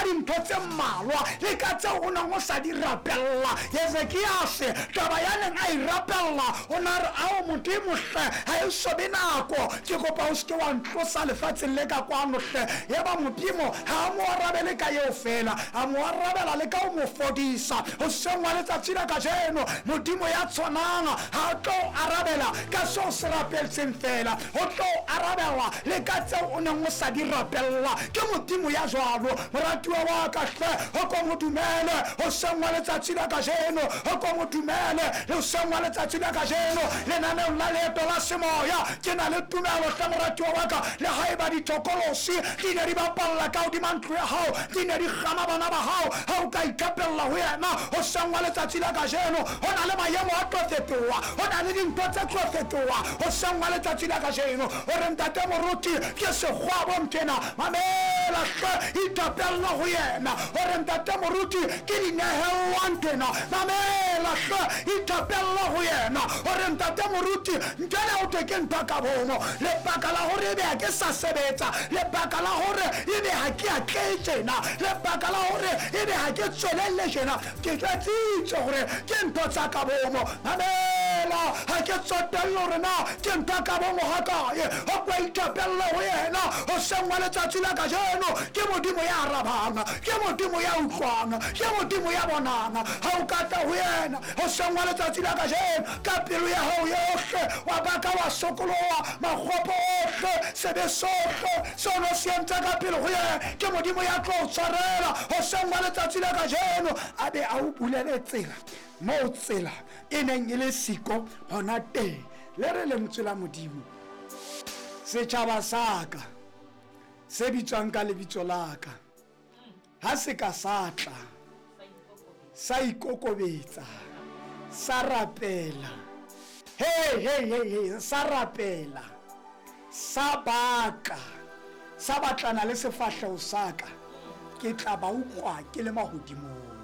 dintho tse mmalwa le ka tseo o neng o sa di rapella. Hezekiase taba ya neng a e rapella o ne a re, Ao Modimo hle, ha e so be nako, ke kopa o se ke wa ntlosa lefatsheng le ka kwano hle. Yaba Modimo ha a mo arabele ka eo feela, a mo arabela le ka ho mo fodisa. Hoseng wa letsatsi la kajeno, Modimo ya tshwanang ha a tlo o arabela ka seo o se rapetseng feela, o tlo o arabela le ka tseo o neng o sa di rapella. Ke Modimo ya jwalo, moratuwa wa ka hle, o ko mo dumele hoseng wa letsatsi la kajeno, o ko mo dumele hoseng wa letsatsi la kajeno. Lenaneong la Leeto la Semoya, ke na le tumelo hle, moratuwa wa ka, le haeba dithokolosi di ne di bapalla ka hodima ntlo ya hao, di ne di kgama bana ba hao, ha o ka ithapella ho yena hoseng wa letsatsi la kajeno, ho na le maemo a tlo fetoha, ho na le dintho tse tlo fetoha hoseng wa letsatsi la kajeno. O re, Ntate Moruti, ke sekgwabo nthwena. Mamela hle, ithapella ho yena. O re, Ntate Moruti, ke dinehellwa nthwena. Mamela hle, ithapella ho yena. O re, Ntate Moruti, nthwena ho thwe ke ntho ka bomo. Lebaka la hore ebe ha ke sa sebetsa, lebaka la hore ebe ha ke atlehe tjena, lebaka la hore ebe ha ke tswelelle tjena, ke jwetsitswe hore ke ntho tsa ka bomo. Mamela, ha ke tsotelle hore na ke ntho ka bomo hakae, o ko ithapelle ho yena hoseng wa letsatsi la kajeno. Ke Modimo ya arabang, ke Modimo ya utlwang, ke Modimo ya bonang. Ha o ka tla ho yena hoseng wa letsatsi la kajeno ka pelo ya hao yohle, wa baka, wa sokoloha makgopo ohle, sebe sohle seo no se entse ka pele ho yena, ke Modimo ya tlo o tshwarela hoseng wa letsatsi la kajeno, a be a o bulele tsela moo tsela e neng e le siko hona teng. Le re lentswe la Modimo, setjhaba sa ka se bitswang ka lebitso la ka ha se ka sa tla sa ikokobetsa, sa rapela, hey, hey, hey, hey, sa rapela, sa baka, sa batlana le sefahleho sa ka, ke tla ba utlwa ke le mahodimong.